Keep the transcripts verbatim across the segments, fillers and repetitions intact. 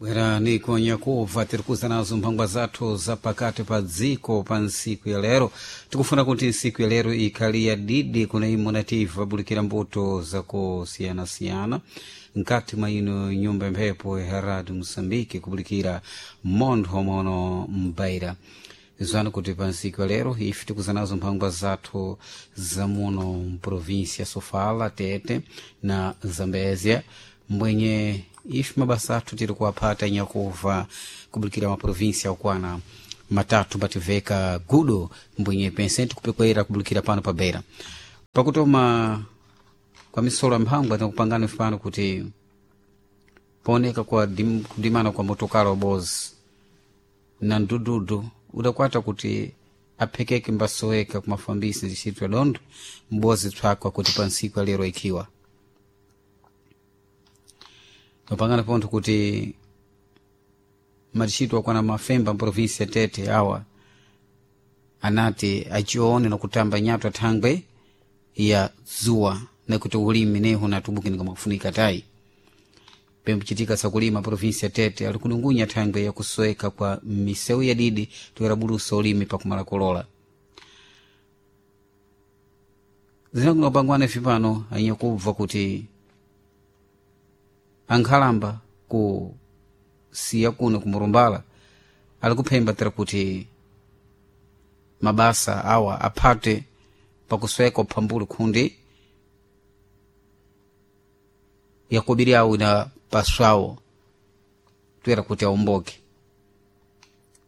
Bwerani konyakuva tiri kuza nazo mphangwa zathu za pakati pa dziko pa ntsiku ya lero. Tikufuna kuti ntsiku ya lero ikhali ya didi kuna imo nativa bulikira mbuto zakusiyanasiyana mkati mwa ino nyumba mphepo ya Radio Moçambique, kubulikira montho mono mbaira. Zwana kuti pa ntsiku ya lero ife tikuza nazo mphangwa zathu za muno mprovinsia Sofala, Tete na Zambezia, mbwenye ife mabasa athu tiri kuwaphata nyakuva kubulikira maprovinsia okwana matatu mbativeka gudo, mbwenye pense tikupekwera kubulikira pano pa Beira. Pakutoma kwa misolo ya mphangwa tinakupangani pano kuti paoneka kwa dim, kudimana kwa motokala wabozi na mdududu udakwata kuti aphekeke mbasoweka kumafambisi ntchito ya dondo mbozi tswakwa kuti pa ntsiku ya lero ikhiwa mapangano pontho kuti matchito akwana mafemba mprovinsi ya Tete awa anati achione nakutamba nyatwa thangwe ya dzuwa nakuti ulimi neho natubukinika mwakufunika tayi. Pembuchitika sakulima provinsi ya Tete ali kunungunya thangwe yakusoweka kwa misewu ya didi toyera bulusa ulimi pakumala kulola. Zinakunopangwana ife pano anyakubva kuti ankhalamba ku siya kuno kumurumbala ali kuphemba tera kuti mabasa awa aphate pakusweka uphambuli khundi yakobiri awo ina paswawo toyera kuti aomboke.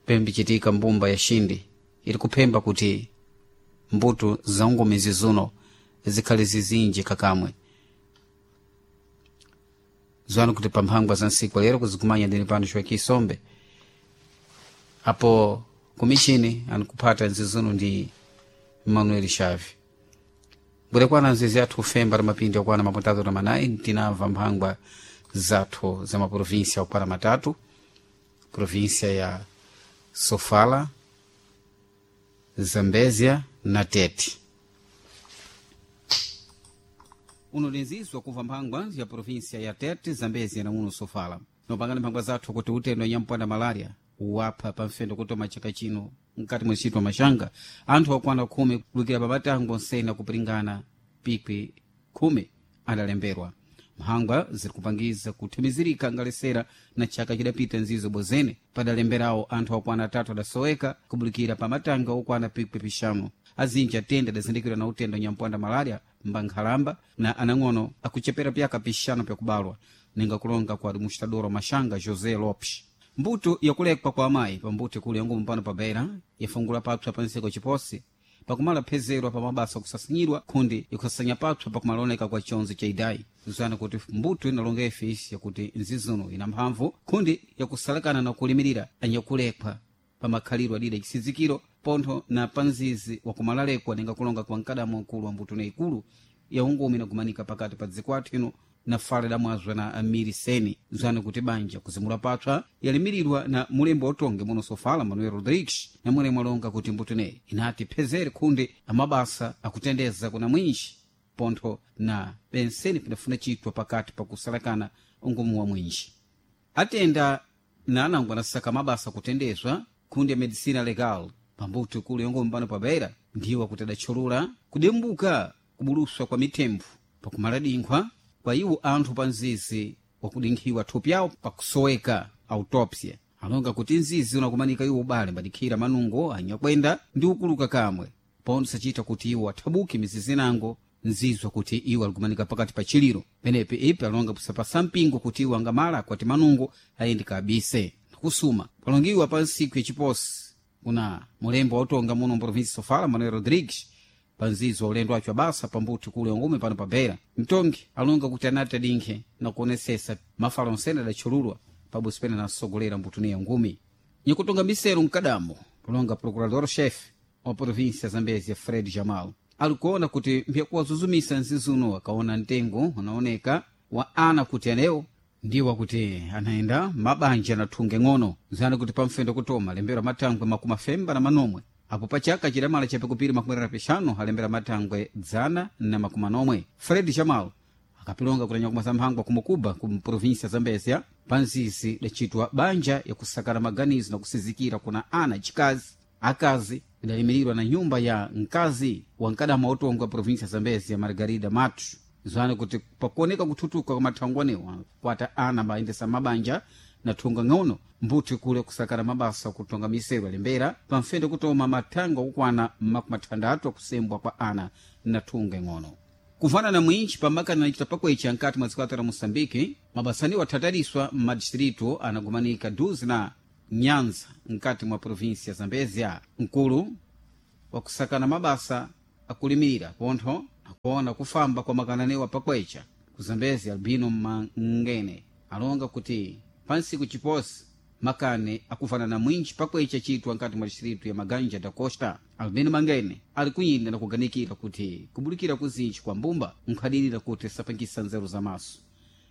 Pembichitika mbumba ya Shindi ili kuphemba kuti mbuto za ngomezi zuno zikhale zizinji kakamwe. Zwanu kuti pamphangwa za ntsiku lero kuzikumanya ndini pano Joaquim Sombe apo kumishini anikuphata nzizuno ndi Manuel Xavi. Bwere nzizi athu ufemba mapindi okwana maputatu na manayi tinamva mphangwa zathu za maprovinsia okwana matatu: provinsia ya Sofala, Zambezia na Tete. Uno lenzizwa kuva mphangwa ya provinsia ya Tete, Zambezia na uno Sofala. Nopangana mphangwa zathu kuti utendo nyampanda malaria wapha pamfendo kutoma chaka chino mkati mwa ntchito mashanga anthu okwana khumi kulukira papatango nsena kupiringana pikwi khumi adalemberwa. Mphangwa ziri kupangiza kuthimizirika ngalesera na chaka chidapita nzizo bozene padalemberawo anthu okwana atatu adasoweka kubulikira pa matanga okwana pikwi pixanu. Azinji atende adazindikirwa na utendo nyampwanda malaria mbankhalamba na anang'ono akuchepera pyaka pixanu pyakubalwa, ninga kulonga kwa administrador wa mashanga José Lopes. Mbuto yakulekwa kwa amayi pambuto kuli yangumu pano pa Beira yafungula papsa pa nseko chiposi pakumala phezerwa pa mabasa okusasinyidwa khundi ikusasanya papsa pakumaloneka kwa chonzi cha idayi. Zwana kuti mbuto inalonga ifisi yakuti nzizuno ina mphamvu khundi yakusalakana na kulimirira anyakulekwa pa makhalidwe adida chisizikiro pontho na panzizi wakumalalekwa ninga kulonga kwa mkadamo mkulu wa mbuto na ikulu ya ungumi inagumanika pakati pa dziko athu ino na fala idamwazwa na Amiri Seni. Zwana kuti banja kuzimula patswa yalimiridwa na mulembo otonge muno Sofala Manuel Rodrigues, na mulemu alonga kuti mbuto ineyi inati phezere khundi amabasa akutendeza kuna mwinji pontho na penseni pinafuna chitwa pakati pakusalakana ungumu wa mwinji. Atenda na anango anasaka mabasa kutendezwa khundi ya medicina legal pambuto ikulu yongoma pano pa Beira ndiwo kuti adatchulula kudembuka kubuluswa kwa mithempho pakumala dinkhwa kwa iwo anthu pa nzizi wakudinkhiwa thupi awo pakusoweka autopsia. Alonga kuti nzizi unakumanika iwo ubale mbadikhira manungo anyakwenda ndi ukuluka kamwe pontho sachita kuti iwo athabuke mizizi nango nzizwa kuti iwo alikumanika pakati pa chiliro. Penepe ipi alonga kusapasa mpingo kuti iwo angamala akwati manungo ayende kabise nakusuma palongiwa pa ntsiku yachiposi kuna mulembo wautonga muno mprovinsi Sofala Manuel Rodrigues panzizo ulendo wacho abasa pambuto kule wangume pano pa Beira. Mtongi alonga kuti anati adinkhe na kuonesesa mafala onsene adatchululwa pabusi pene nasogolera mbutuniya ngumi. Nyakutonga misero mkadamo kulonga procurador chefe wa província Zambezia Fred Jamal alikuona kuti mpyakuwazuzumisa nzizuno akaona mtengo unaoneka wa ana kuti anewo ndiwo kuti anaenda mabanja anathunge ng'ono. Zana kuti pamfendo kutoma lembera matangwe makumi afemba na manomwe apo pachaka chidamala chapikupiri makumi atatu pixanu alembera matangwe dzana na makumi anomwe. Fred Jamal akapilonga kutanya kumasa mphangwa kumukuba ku província Zambezia. Panzizi dacitwa banja yakusakana maganizo na kusizikira kuna ana chikazi akazi idalimirirwa na nyumba ya mkazi wa nkadama utongo wa provinsia Zambezi ya Margarida Matu zwana kuti pakuoneka kuthutuka kwa mathangwanewa kwata ana mayendesa mabanja na thunga ng'ono mbuti kule kusakana mabasa kutonga miseru alembera pamfende kutoma mathangwa akukwana makumi athandatu akusembwa kwa ana na thunga ing'ono. Kuvana na mwinchi pamakana nachita pakwecha nkati mwa zikwata la Moçambike, mabasaniwo athataliswa m'madistritu anagumanika duzi na Nyanza nkati mwa provinsia ya Zambezia. Mkulu wakusakana mabasa akulimira pontho akuona kufamba kwa makananewa pakwecha ku Zambezi, Albino Mangene alonga kuti pansiku chiposi makane akufana na mwinchi pakwecha chitwa nkati mwa distritu ya Maganja da Costa. Albino Mangene ali kuyinda na kuganikira kuti kubulikira kuzinji kwa mbumba nkhadilira kuti sapangisa nzeru za maso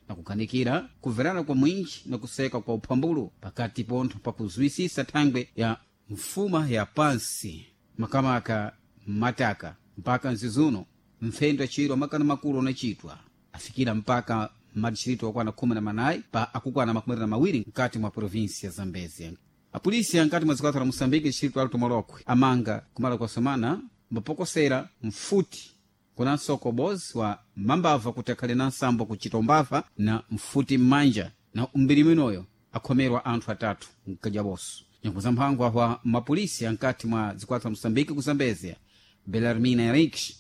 na kuganikira kuverana kwa mwinchi na kuseka kwa uphambulu pakati pontho pakuzwisisa thangwe ya mfuma ya pansi makamaka mataka mpaka nzizuno mfendo achirwa makana makulu anachitwa afikira mpaka madistritu akwana khumi na manayi pa akukwana makumi na mawiri mkati mwa provinsi ya Zambezia. Apolisi ankati mwa zikwata la Moçambique distritu Alto Molokwe amanga kumala kwa somana mbapokosera mfuti kuna nsoko bozi wa mambava kuti akhale na nsambo kuchita umbava na mfuti m'manja na umbiri mwinoyo akhomerwa anthu atatu mkajaboso. Nyango za mphangwa wa mapolisi ankati mwa zikwata la Moçambique ku Zambezia, Belarmina Henriques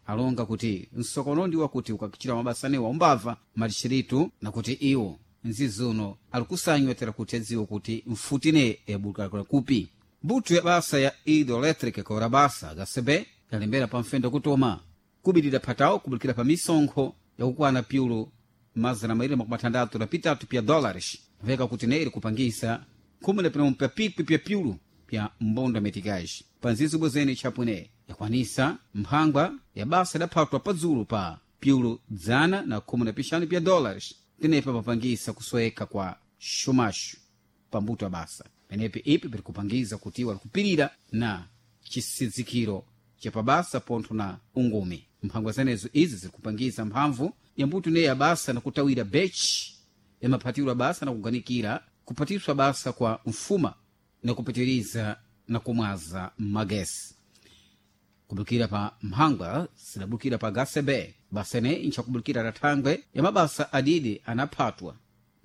alonga kuti msokono ndi wakuti ukakichita mabasanewa umbava madistritu na kuti iwo nzizuno alikusanywa tera kuti adziwe kuti mfutine yabulukakula kupi. Mbuto ya basa ya hidroelétrica kora basa gasebe yalembera pamfendo kutoma kubilira phatawo kubulikira pa misonkho yakukwana pyulu mazana mairi makumi atandatu na pitatu pya dólares veka kuti neiri kupangisa khumi na pinomu pya pikwi pya pyulu pya mbondo ya meticage. Panzizi bwezene chapwene yakwanisa mphangwa ya basa idaphatwa padzulu pa pyulu dzana na khumi na pixanu pya dólares tenepa papangisa kusweka kwa xumaxu pambuto ya basa penepi ipi pirikupangiza kuti iwo alikupirira na chisidzikiro chapabasa pontho na ungumi. Mphangwa zenezo izi zirikupangiza mphamvu ya mbuto ineyi ya basa na kutawira bechi yamaphatirwa basa na kuganikira kuphatiswa basa kwa mfuma na kupitiriza na kumwaza magesi kubukira pa mphangwa sidabukira pa gasebe basene inchakubukira la thangwe ya mabasa adidi anaphatwa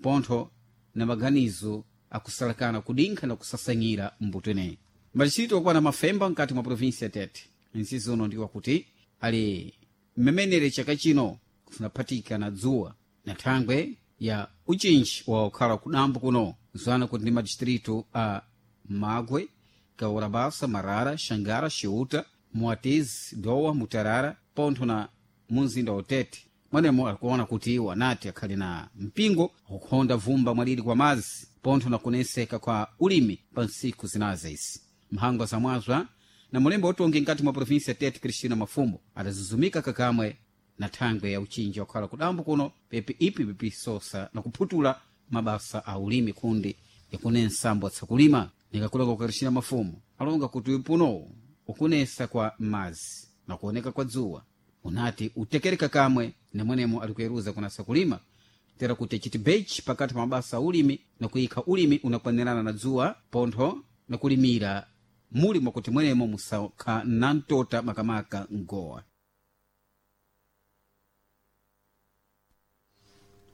pontho na maganizo akusalakana kudinkha na kusasanyira mbuto ineyi. Machitito okwana mafemba mkati mwa provinsi ya Tete nsizono ndiwa kuti ali mmemenere chaka chino kufunaphatika na dzuwa na thangwe ya uchinji wa kukhala kudambo kuno zwana kuti ndi madistritu a Magwe, Kaurabasa, Marara, Xangara, Xiuta, Moatize, Dowa, Mutarara pontho na munzinda wa Tete. Mwenemo akuona kuti iwo anati akhali na mpingo akukhonda vumba mwaliri kwa mazi pontho na kuneseka kwa ulimi pa ntsiku zinaza izi. Mphangwa zamwazwa na mulembo utongi nkati mwa provinsi ya Tete, Cristina Mafumbo adazuzumika kakamwe na thangwe ya uchinji wakhala kudambo kuno pepi ipi pipisosa na kuphutula mabasa a ulimi kundi yakune nsambo atsakulima. Nikakuleka kwa Cristina Mafumo alonga kuti upunowu ukunesa kwa mazi na kuoneka kwa dzuwa unati utekereka kamwe nemwenemo alikuyeruza kunasa kulima tera kuti achiti bechi pakati pa mabasa a ulimi na kuyikha ulimi unakwanirana na dzuwa pontho na kulimira muli mwakuti mwenemo musakha na mtota makamaka mgowa.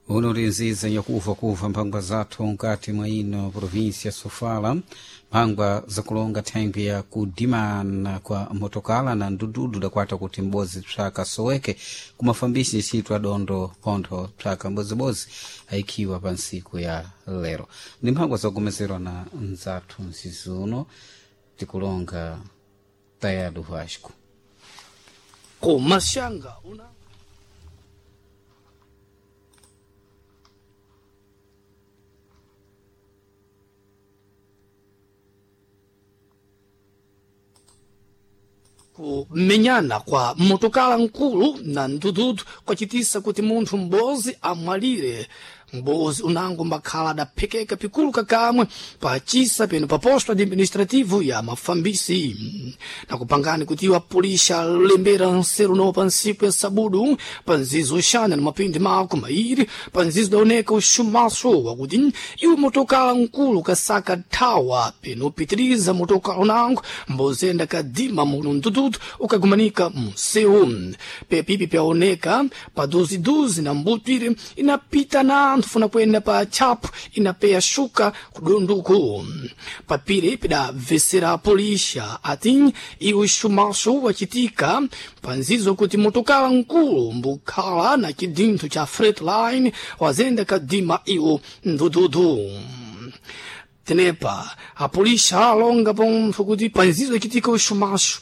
Uno linziza nyakufa kufa mphangwa zathu nkati mwa ino provinsia ya Sofala, mphangwa zakulonga thangwi ya kudimana kwa motokala na ndududu dakwata kuti m'bodzi psaka soweke kumafambisi ntchito adondo pontho psaka mbodzibozi ayikhiwa pa ntsiku ya lero. Ndi mphangwa zakukomezerwa na nzathu nzizuno tikulonga Tayado Vasco. Kumashanga una kumenyana kwa motokala nkulu na ndududu kwacitisa kuti munthu m'bodzi amwalire. Mbozi unango mbakhala adaphekeka pikulu kakamwe pachisa peno pa posto administrativo ya mafambisi. Nakupangani kuti iwo apulisha lembera nseru no pa nsiku ya sabudu pa nzizo uxana na mapindi mako mairi pa nzizo daoneka uxumaso wakuti iwo motokala nkulu kasaka thawa peno pitiriza motokala unango mbozenda kadima muno mtututu ukagumanika munsewu. Pepipi pyaoneka pa duziduzi na mbutwire inapita na anthu funa kuyenda pa tchapu inapeya shuka kudunduku. Papire pidabvesera polisha ati iwo xumaso wachitika panzizo kuti motokala nkulu mbukhala na chidinthu cha Freightliner wazenda kadima iwo ndududu. Tenepa apolisha alonga pontho kuti panzizo ichitika uxumaxo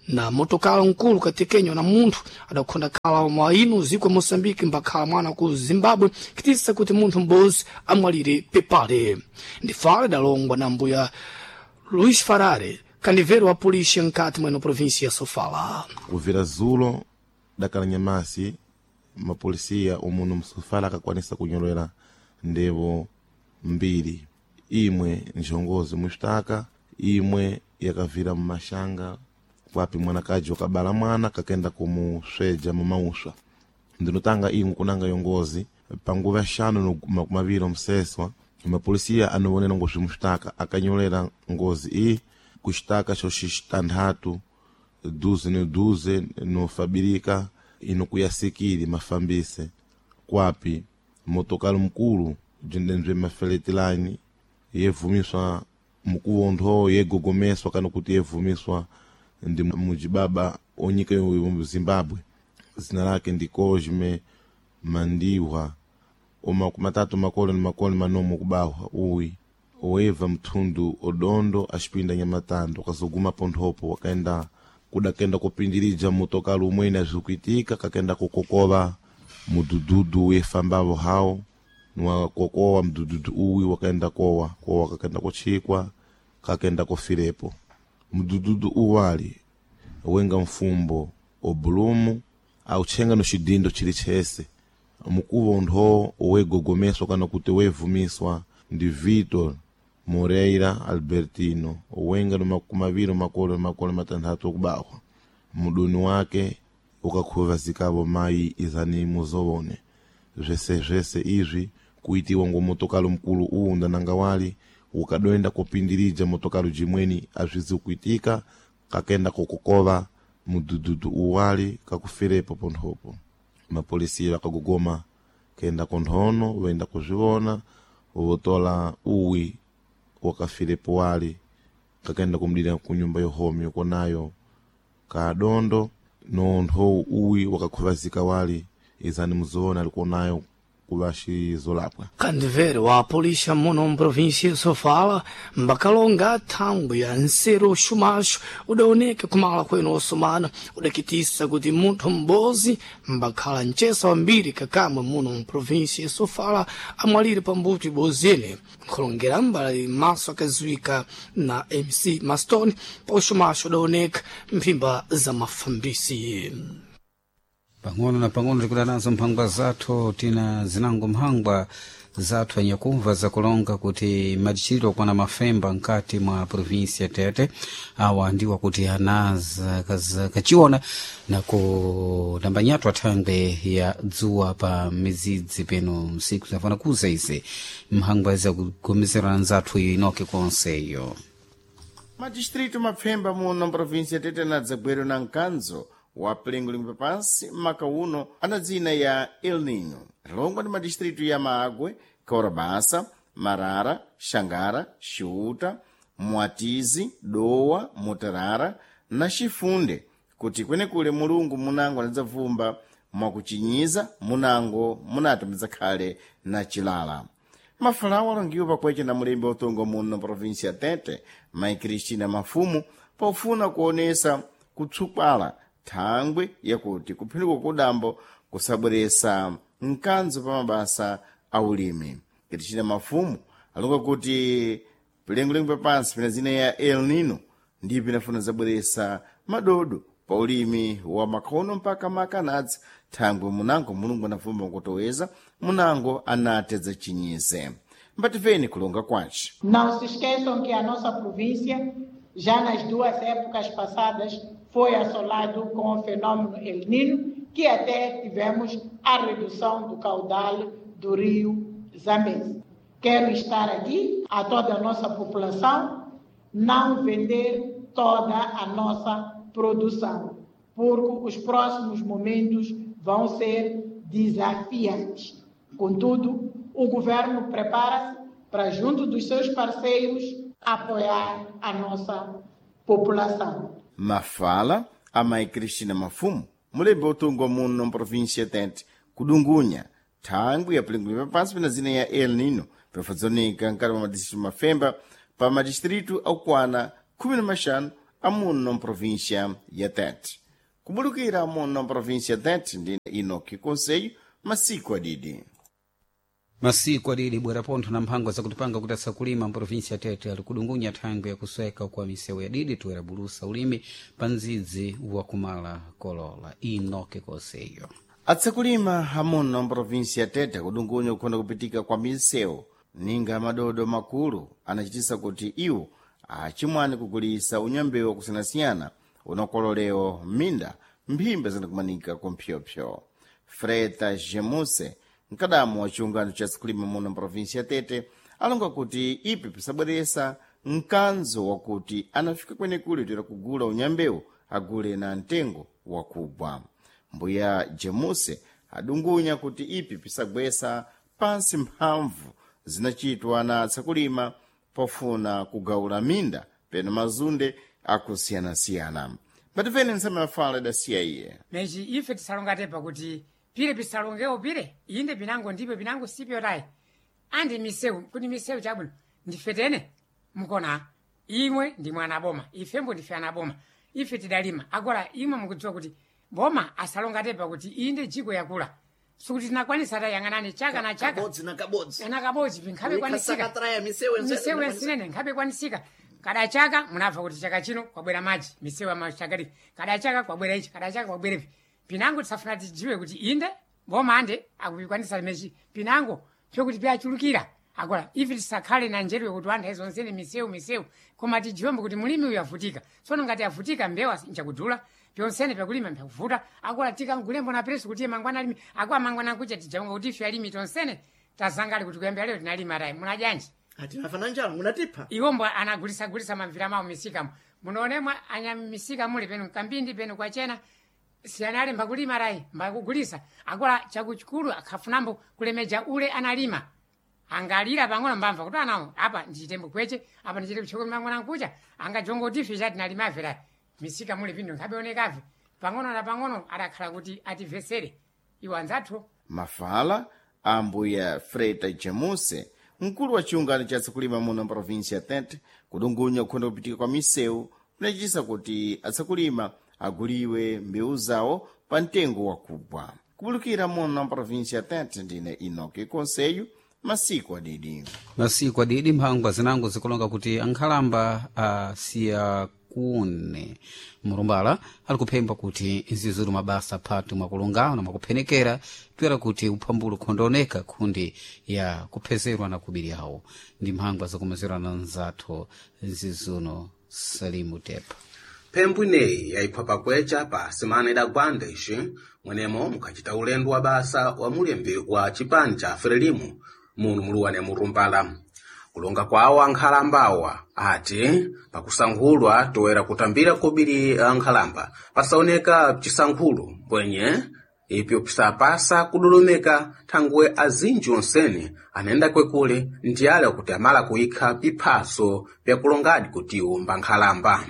na motokala nkulu katekenywa na munthu adakhonda khala mwa ino ziko ya Moçambique mbakhala mwana ku Zimbabwe kitisa kuti munthu m'bozi amwalire pepale. Ndifale dalongwa na mbuya Luís Farare, kanivero wa polícia nkati mweno província ya Sofala. Kuvira zulo dakala nyamasi mapolisiya umuno msofala akakwanisa kunyolera ndevo mbiri, imwe njongozi muxitaka, imwe yakavira mumashanga kwapi mwanakaji wakabala mwana kakenda kumusweja mumauswa. Ndinotanga imwe kunanga yongozi panguva yaxanu no makumi maviri omseswa mapolisiya anowonera ngozi muxitaka akanyolera ngozi iyi kuxitaka xoxitanthatu duze no duze nofabirika ino kuyasikili mafambise kwapi motokalo mkulu jendenzwe mafeletilani yevumiswa mukuvontho yegogomeswa kana kuti yevumiswa ndi mujibaba onyika yo Zimbabwe zina lake ndi Cosme Mandiwa omakumatatu makolo ni makolo manomo kubahwa uwi oeva mthundu odondo axipinda nyamatando akazoguma ponthopo wakaenda kudakenda kupindirija motokalo umwene azvikuitika kakenda kukokova mudududu wefambavo hawo niwakokowa mdududu uwi wakaenda kowa kowa kakenda kuchikwa kakenda kufirepo. Mdududu uwali wenga mfumbo obulumu auchenga no xidindo chili chese mukuvo ntho wegogomeswa kana kuti wevumiswa ndi Vitor Moreira Albertino wenga no makumaviri makolo makolo matanthatu okubahwa mudoni wake ukakhuvazikavo mayi izani muzowone zvese zvese izvi kuitiwa ngo motokalo mkulu uwu ndananga wali ukadoenda kupindirija motokalo jimweni azvizi kuitika kakenda kukokova mudududu uwali kakufirepo ponthopo. Mapolisiya vakagogoma kenda konthono voenda kuzvivona votola uwi wakafirepo wali kakenda kumdira kunyumba yohomi yokonayo kadondo nontho uwi wakakhuvazika wali izani muzoona alikuonayo kuvaxizolapwa. Kandivere wa polícia muno mprovíncia ya Sofala mbakalonga thangwi ya nseru uxumaxo udaoneka kumala kwenu osomana udakitisa kuti munthu m'bozi mbakhala mcesa wambiri kakamwe muno mprovíncia ya Sofala amwalire pambuto ibozi ene. Nkhulongera mbali maso akaziwika na M C Maston pa uxumaxo udaoneka mphimba za mafambisi. Pang'ono na pang'ono tikuda nazo mphangwa zathu tina zinango mphangwa zathu anyakumva zakulonga kuti madichitiro okwana mafemba nkati mwa provinsia Tete awa ndiwa kuti anaza kachiona na kudambanyatwa thangwe ya dzuwa pa mizidzi peno msiku zinafana kuza ize mphangwa zakugomezerana nzathu iyo inoke konseyo. Madistrito mapfemba muno mprovinsia Tete na dzagwero na mkanzo wa pilingulingu papansi maka uno ana dzina ya El Nino lilongwa ndi madistritu ya Maagwe, Kaurabasa, Marara, Xangara, Xiuta, Mwatizi, Dowa, Mutarara na Xifunde kuti kwenekule Mulungu munango anadzavumba mwakuchinyiza munango munati mudzakhale na chilala. Mafalawo alongiwa pakwecha na mulembi wa muno provinsia Tete Mai Cristina Mafumu pofuna kuonesa kutsukwala thangwi yakuti kuphinduka kudambo kusabweresa mkanzo pa mabasa a ulimi. Cristina Mafumu alonga kuti pilengolengo papansi pina zina ya El Nino ndipo inafuna zabweresa madodo Pa ulimi wa makhono mpaka makanadzi thangwe munango Mulungu anavuma kutoweza munango anatedza chinyize. Mbativeni kulonga kwace. Não se esqueçam que a nossa província, já nas duas épocas passadas, foi assolado com o fenômeno El Niño, que até tivemos a redução do caudal do rio Zambeze. Quero estar aqui a toda a nossa população, não vender toda a nossa produção, porque os próximos momentos vão ser desafiantes. Contudo, o governo prepara-se para, junto dos seus parceiros, apoiar a nossa população. Mafala a mãe Cristina Mafumo, mulembe utungwa muno mprovíncia Tete, kudungunya thangwi yapulingulira pansi pena zina ya El Nino pefadzonika nkati mwa madistritu mafemba pa madistritu akukwana khumi na maxanu amuno mprovíncia ya Tete. Kubulukira muno mprovíncia ya Tete ndi Enoki Conselho, masiku adidi. Masiku adidi bwera pontho na mphango zakutipanga kuti asakulima mprovinsi ya Tete ali kudungunya thangwi yakusweka kwa misewu ya didi toera bulusa ulimi pa ndzidzi wakumala kolola. Enoki Conselho. Atsakulima amuno mprovinsi ya Tete kudungunya kukhonda kupitika kwa misewu ninga madodo makulu anachitisa kuti iwo achimwani kugulisa unyambewu wakusiyanasiyana unakololewo m'minda mphimba zinakumanika kumphyopyo. Freta Gemuse, mkadamu wa chiungano cha tsakulima muno mprovinsi ya Tete, alonga kuti ipi pisabweresa mkanzo wakuti anafika kwenekule toera kugula unyambewu agule na mtengo wakugwa. Mbuya Jemuse adungunya kuti ipi pisagwesa pansi mphamvu zinachitwa na tsakulima pofuna kugaula minda peno mazunde akusiyanasiyana. Patifeni nsame mafala idasiya iye. Meji ife tisalongatepa kuti pire pisalongewo pire inde pinango ndipo pinango sipyo tayi andi misewu kuti misewu chabwino ndife tene mukona imwe ndi mwana boma ifembo ndife ana boma ife tidalima agora imwe mukudziwa kuti boma asalongatepa kuti inde jiko yakula sikuti tinakwanisa tayang'anani chaka na chaka kabodzi na kabodzi na kabodzi pinkhabe kwanisika Sakatraya misewu misewu yasinene nkhabe kwanisika kada chaka munabva kuti chaka chino kwabwera madzi misewu yamachakati kada chaka kwabwera ichi kada chaka kwabwera ipi pinango tisafuna tidziwe kuti inde boma ande akupikwanisa limechi pinango pyokuti pyachulukira agora ife tisakhale na njeru yokuti anthu azonzene misewu misewu koma tidziwembo kuti mulimi uyu avutika tsono ngati avutika mbewu nchakudula pyonsene pyakulima mpyakuvuta agora tikangulembo na preso kuti iye mangwana alimi akwa mangwana kucha tijaonga kuti ife alimi tonsene tazangali kuti kuyambira lero tinalima tayi munajanji atinafana njala munatipha iwombo anagulisagulisa mamvira mawo misikamo munonemwa anyamisika muli penu kambindi penu kwachena siyanali mbakulima rayi mbakugulisa akola chakuchikulu akhafunambo kulemeja ule analima angalira pang'ono mbamva kuti anawo apa ndichitembo kweche apa ndichite kuchoko mang'ono ankucha angajongotife chatinalimafe rayi misika muli pinu nkhabeonekafe pang'ono na pang'ono adakhala kuti ativesere iwo anzathu Mafala a mbuya Freta Gemuse, mkulu wa chiungano cha tsakulima muno mprovinsi ya Tete, kudungunya kukhonda kupitika kwa misewu kunachitisa kuti atsakulima aguliwe mbewu zawo pa mtengo wakugwa. Kubulukira muno mprovinsi ya Tete ndine Enoki Conselho, masiku adidi. Masiku adidi mphangwa zinango zikulonga kuti ankhalamba asiya kune murumbala ali kuphemba kuti nzizuru mabasa phatu mwakulungana mwakuphenekera pyera kuti uphambulu khondooneka khundi ya kuphezerwa na kubiri awo ndi mphangwa zakumezerwa na nzathu nzizuno Salimu Tepa. Phembu ineyi yayipha pakwecha pa semana idagwanda ixi mwenemo mukhacita ulendo wa basa wa mulembi wa chipani cha Frelimo muno muluwane murumbala. Kulonga kwawo ankhalambawa ati pakusankhulwa toera kutambira kobiri ankhalamba pasaoneka chisankhulo mbwenye ipyo pisapasa kudolomeka thangwe azinji onsene anayenda kwekule ndi ale kuti amala kuyikha piphaso pyakulongadi kutiwo mbankhalamba.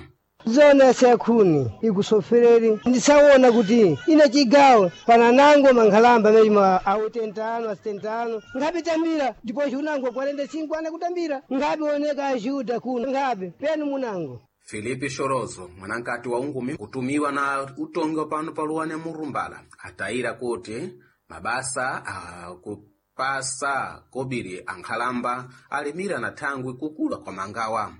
Zona sekhuni ikusofereri ndisawona kuti ina chigawo pananango mankhalamba amene awutentano asitentano nkhabe tambira ndipoci unango kwarenda cinco ana kutambira nkhabe oneka ajuda kuno nkhabe penu munango Filipe Shorozo mwanankati wa ungumi kutumiwa na utongi wa pano paluwane murumbala atayira kuti mabasa akupasa kobiri ankhalamba alimira na thangwi kukula kwa mangawa.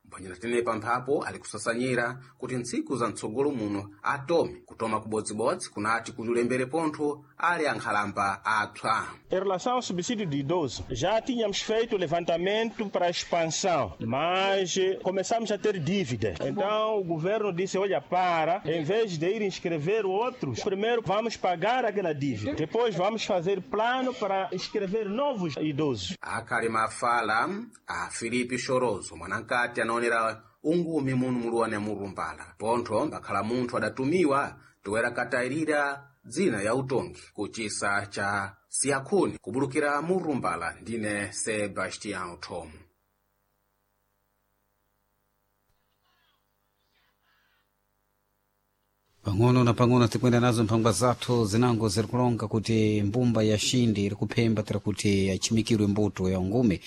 Mphwanyira tenepa mphapo ali kusasanyira kuti ntsiku za mtsogolo muno atome kutoma kubodzibodzi kunati kulembere pontho ali ankhalamba apsa. Em relação ao subsídio de idoso, já tínhamos feito o levantamento para a expansão, mas eh, começamos a ter dívida. Então o governo disse: olha, para, em vez de ir inscrever outros, primeiro vamos pagar aquela dívida, depois vamos fazer plano para inscrever novos idosos. Akhali mafala a Filipe Chorozo mwanankati anaonera ungumi muno muluwane murumbala pontho mbakhala munthu adatumiwa toera katayirira dzina ya utongi kuchisa cha siyakhuni kubulukira murumbala. Ndine Sebastião Tom. Pang'ono na pang'ono tikwenda nazo mphangwa zathu zinango zirikulonga kuti mbumba ya Xindi iri kuphemba tira kuti achimikirwe mbuto ya ungume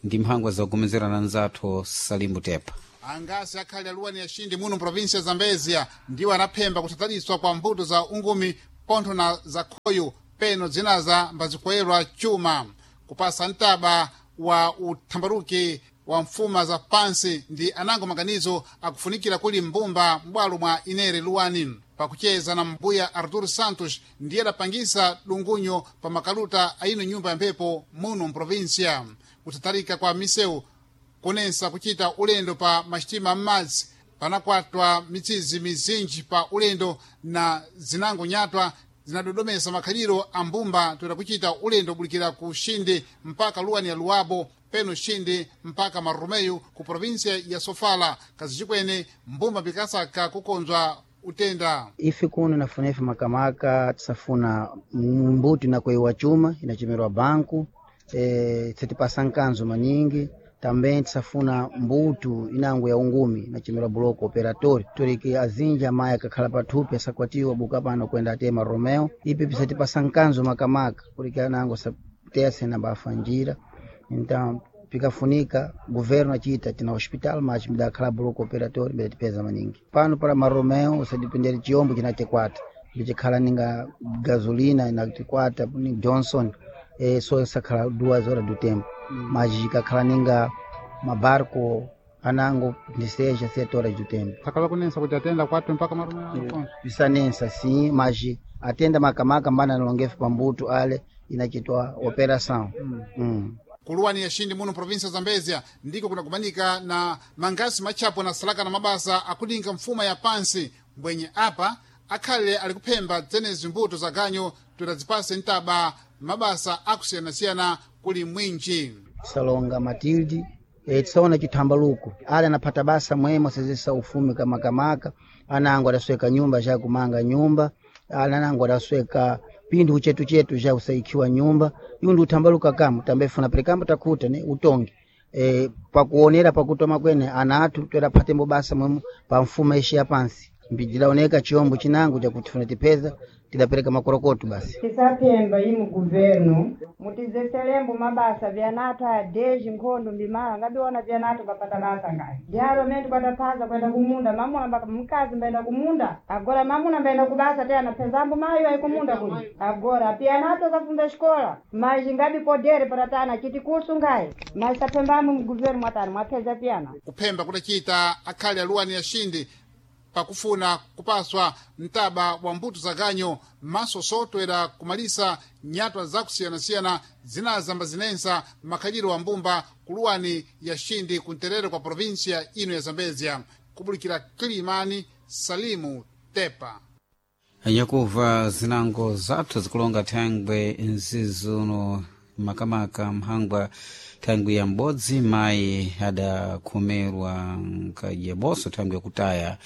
ndi mphangwa zakugomezerana nzathu Salimbu Tepa. Angasi akhali aluwani ya Xindi muno mprovinsia ya Zambezia ndiwo anaphemba kuthataliswa kwa mbuto za ungumi pontho na za khoyo peno zinaza mbazikoyerwa chuma kupasa mtaba wa uthambaruki wa mfuma za pansi ndi anango maganizo akufunikira kuli mbumba m'bwalo mwa inere luwani. Pakucheza na mbuya Artur Santos ndiye adapangisa dungunyo pa makaluta aino nyumba ya mphepo muno mprovinsia. Kuthatalika kwa misewu kunensa kuchita ulendo pa maxitima m'madzi panakwatwa mitsizi mizinji pa ulendo na zinango nyatwa zinadodomesa makhaliro a mbumba toera kuchita ulendo obulikira ku Xindi mpaka luwani ya Luwabo peno Xindi mpaka Marumeyo ku provinsia ya Sofala. Kazichikwene mbumba pikasaka kukonzwa utenda. Ife kuno nafuna ife makamaka tisafuna mbuto inakuiwa chuma inachemerwa banku e, tisatipasa nkanzo maningi. Também tisafuna mbuto inango ya ungumi inachemerwa bloco operatório toreke azinja mayi akakhala pathupi asakwatiwa buka pano kwenda atema Romeo ipi pisatipasa nkanzo makamaka porque anango satese na bafa njira. Então pikafunika governo achita tina hospital mas midakhala bloco operatório midatipeza maningi pano para Maromeo usadipendere chiyombo chinatekwata ndichikhala ninga gasolina inatikwata ni Johnson e, so sakhala duas horas do tempo mm. Mas chikakhala ninga mabarco anango ndiseja sete horas do tempo. Sakhala kunensa kuti atenda kwathu mpaka Maromeo. Pisanensa sim, mas atenda makamaka mbana nalongefe pambuto ale inachitwa operação mm. Mm. Kuluwani ya Xindi muno provinsia ya Zambezia ndiko kunakumanika na mangasi matchapo na salaka na mabasa akudinga mfuma ya pansi mbwenye apa akhale ali kuphemba dzenezi mbuto za ganyo tutazipase mtaba mabasa akusiyanasiyana kuli mwinji. Tisalonga Matilde e, tisaona chithambaluko ale anaphata basa mwemo asezesa ufumi kamakamaka anango adasweka nyumba ja kumanga nyumba ale anango adasweka pindu chetu chetu ja usaikiwa nyumba iwu ndi uthambaluka kamu tambefuna perekambo takhuta ne utongi e, pakuonera pakutoma kwene ana athu toeraphatembo basa mwemo pa mfuma ishi ya pansi mbidilaoneka chiyombo chinango chakuti funa tipeza tidapereka makorokoto basi. Tisaphemba imu governo mutizeselembo mabasa vyanathu adeji nkhondo mbimala ngabiona vyanathu kapata basa ngayi ndialo mene tikwataphaza kwenda kumunda mamuna mbaka mkazi mbaenda kumunda agora mamuna mbaenda kubasa te anaphezambo mayo ayi kumunda kuja agora pianathu akafunda xikola mas ngabi podere paratana chiti kusu ngayi mas saphembamo mugoverno mwatani mwapheza piyana. Kuphemba kudacita akhali aluwani ya Xindi pakufuna kupaswa mtaba wa mbuto za ganyo maso sotwera kumalisa nyatwa zakusiyanasiyana zinazamba zinensa makhaliro wa mbumba kuluwani ya Xindi kunterere kwa provinsia ino ya Zambezia. Kubulikira Kilimani, Salimu Tepa. Nyakuva zinango zathu zikulonga thangwe nzizuno makamaka mphangwa thangwi ya m'bodzi mayi adakhomerwa nkadyeboso thangwi yakutaya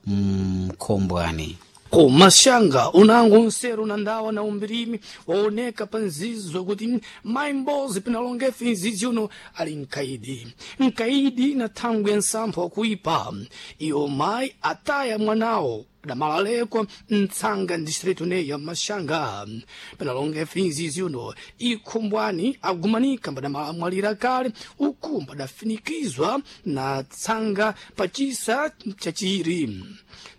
mkhombwani. Kumaxanga unango nseru na ndawa na umbirimi waoneka pa nzizo kuti mayi mbozi pinalongefe nzizi uno ali mkaidi mkaidi na thangwi ya nsampha wakuipa iyo mayi ataya mwanawo. Adamalalekwa mtsanga distrito neya Mashanga. Penalonga finzizi uno ikhumbwani agumanika mbadamwalira kale uku mbadafinikizwa na tsanga pachisa chachiri.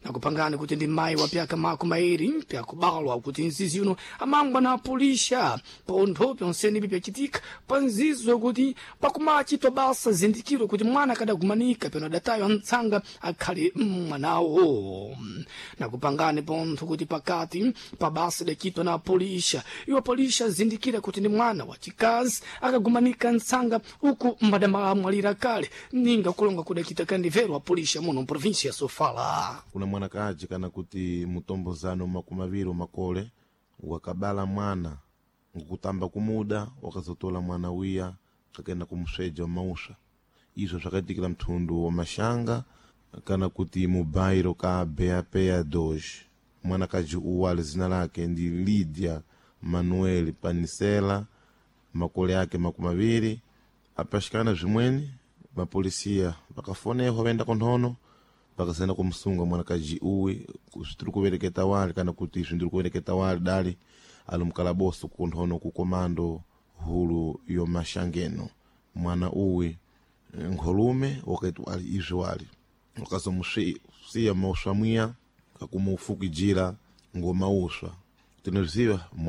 Nakupangani kuti ndi mayi wa pyaka mako mairi pyakubalwa kuti nzizi uno amangwa na apulisha pontho pyonsenipi pyachitika pa nzizo kuti pakumachitwa basa zindikiro kuti mwana akadagumanika peno adataywa mtsanga akhale mwanawo. Nakupangani pontho kuti pakati pa basa idachitwa na apulisha, iwo apulisha azindikira kuti ndi mwana wachikazi akagumanika mtsanga uku mbadamwalira kale ninga kulonga kudachita kandivero apulisha muno mprovinsia ya Sofala. Kuna mwanakaji kana kuti mutombozano makumi aviri makole wakabala mwana ngukutamba kumuda wakazotola mwana wiya kakenda kumusveja mauswa. Izvo zvakaitikira mthundu wa Mashanga kana kuti mubairo ka Beapeya dos. Mwanakaji uwu ali zina lake ndi Lydia Manuel Panisela, makole ake makumi aviri. Apaxikana zvimweni mapolisiya vakafonehwa vaenda konthono vakasenda kumusunga mwanakaji uwi zvitiri kuvereketa wali kana kuti izvi ndiri kuvereketa wali dali ali mukalaboso kunthono ku komando hulu yomashangeno. Mwana uwi nkholume wakaiti wali izvi wali wakazomusiya mauswa mwiya kakumufukijira ngomauswa tinozviziva.